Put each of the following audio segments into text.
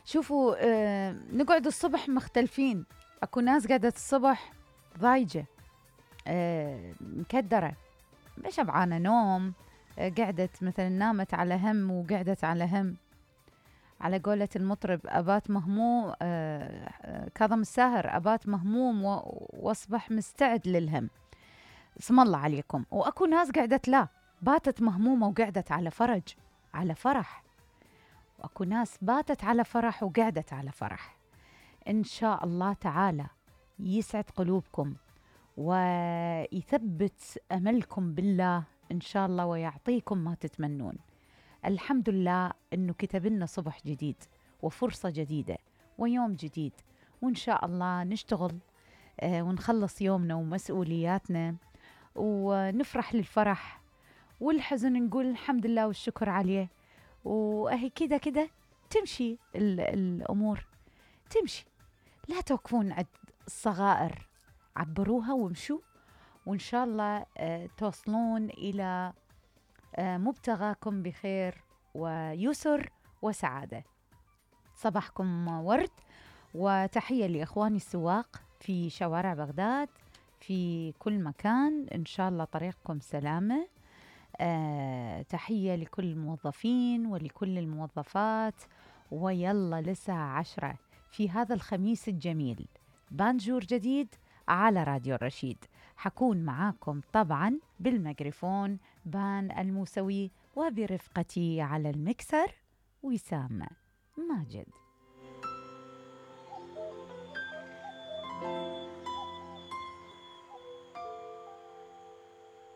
شوفوا، نقعد الصبح مختلفين. اكو ناس قعدت الصبح ضايجة، مكدرة، شبعانة نوم، قعدت مثلا نامت على هم وقعدت على هم. على قولة المطرب أبات مهموم، كاظم الساهر، أبات مهموم واصبح مستعد للهم. اسم الله عليكم. وأكو ناس قعدت لا، باتت مهمومة وقعدت على فرج، على فرح. وأكو ناس باتت على فرح وقعدت على فرح. إن شاء الله تعالى يسعد قلوبكم ويثبت أملكم بالله إن شاء الله، ويعطيكم ما تتمنون. الحمد لله إنه كتب لنا صبح جديد وفرصة جديدة ويوم جديد، وإن شاء الله نشتغل ونخلص يومنا ومسؤولياتنا ونفرح للفرح، والحزن نقول الحمد لله والشكر عليه. وأهي كده كده تمشي الأمور، تمشي. لا توقفون عند الصغائر، عبروها وامشوا، وإن شاء الله توصلون إلى مبتغاكم بخير ويسر وسعادة. صباحكم ورد، وتحية لإخواني السواق في شوارع بغداد في كل مكان، إن شاء الله طريقكم سلامة. تحية لكل الموظفين ولكل الموظفات. ويلا لساعة 10 في هذا الخميس الجميل بانجور جديد على راديو الرشيد. حكون معاكم طبعا بالميكروفون بان الموسوي، وبرفقتي على المكسر وسام ماجد.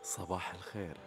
صباح الخير.